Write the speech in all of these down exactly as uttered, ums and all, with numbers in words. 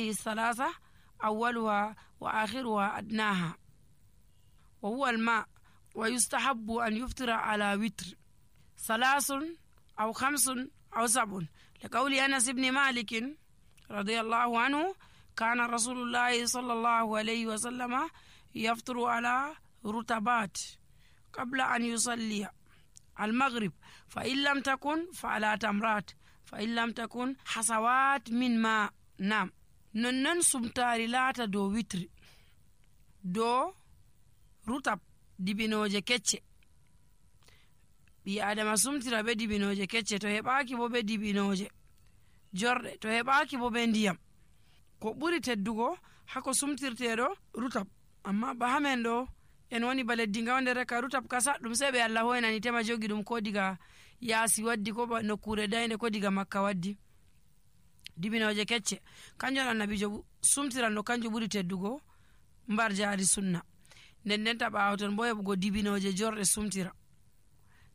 ثلاثة أولها وآخرها أدناها وهو الماء. ويستحب أن يفطر على وتر ثلاث أو خمس أو سبع، لقول أنس بن مالك رضي الله عنه كان رسول الله صلى الله عليه وسلم يفطر على رطبات قبل أن يصلي المغرب، فإن لم تكن فعلى تمرات، فإن لم تكن حصوات من ماء. نعم. ننن سمتاري لاتا دو وتر دو رطب dibinoje kecce. ɓi adama sumtira be dibinoje kecce, to heɓaki bo be dibinoje jorɗe, to heɓaki bo be ndiyam. ko ɓuri teddugo hako sumtirteɗo rutab, amma ba hamen ɗo en woni ba leddi gawnde reka rutab ka saɗɗum sei ɓe Allah hoynani tema jogi ɗum ko diga yaasi waddi, ko ba nokkure dayde, ko diga makka waddi. dibinoje kecce kanjum annabijo sumtiran no kanjum ɓuri teddugo mbar jaari sunna. nden ndenta ɓaawo ton bo heɓugo dibinoje jorɗe sumtira.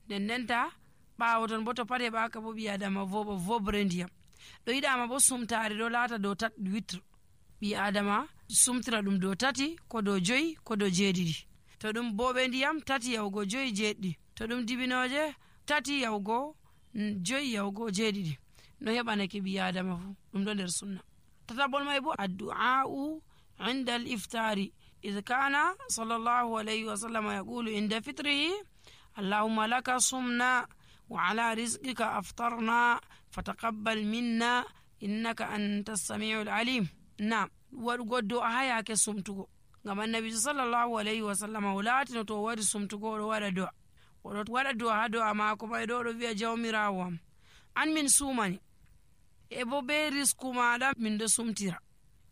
nden ndenta ɓaawo ton bo to pat heɓaka bo ɓi adama voɓo vobre ndiyam. ɗo yiɗama bo sumtare ɗo laata dow tat witre. ɓi adama sumtira ɗum dow tati ko dow joyi ko dow jeeɗiɗi. to ɗum boɓe ndiyam tati yahugo joyi jeeɗiɗi, to ɗum dibinoje tati yahugo joyi yahugo jeeɗiɗi. no heɓanake ɓi adama fu ɗum ɗo nder sunna. tatabol may bo addu'a'u inda al iftari إذ كان صلى الله عليه وسلم يقول عند فطره اللهم لك صمنا وعلى رزقك أفطرنا فتقبل منا إنك أنت السميع العليم. نعم. وقد أهياك سمتكو كما النبي صلى الله عليه وسلم ولاتي نتواري سمتكو ولا دعاء ولا دعاء دعاء معكم أيدور في جومي راوام أن من سومني إبو بيرسكو مادا من دو سمتيرا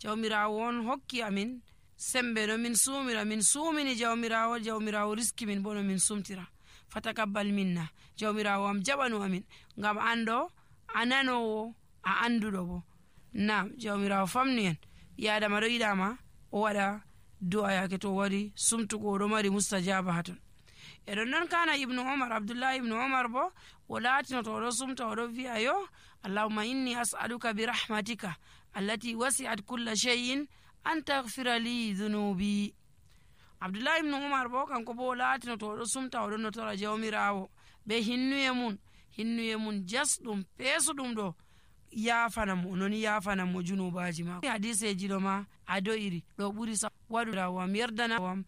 جومي راوان هكي أمين sembe no min sumira min sumini jawmirawo jawmirawo riski min bono min sumtira. fatakabbal minna, jawmirawo am jabanu amin ngam ando ananowo a anduɗo bo. nam jawmirawo famni en. yadama ɗo yiɗama o waɗa du'a yake to wari sumtugo oɗo mari mustajaba haton. eɗon non kana ibnu umar abdullah ibnu umar bo o laatino to oɗo sumta oɗo wi'a yo allahumma inni as'aluka bi rahmatika allati wasi'at kulla shay'in an taghfira li dhunubi. abdullah ibn umar bo kanko bo laatino to oɗo sumta oɗo notora jawmirawo be hinnuye mun hinnuye mun jasɗum peesuɗum ɗo yafana mo noni yafana mo junubaji ma. hadiseji ɗo ma ado iri ɗo ɓuri sa waɗurawam yerdana wam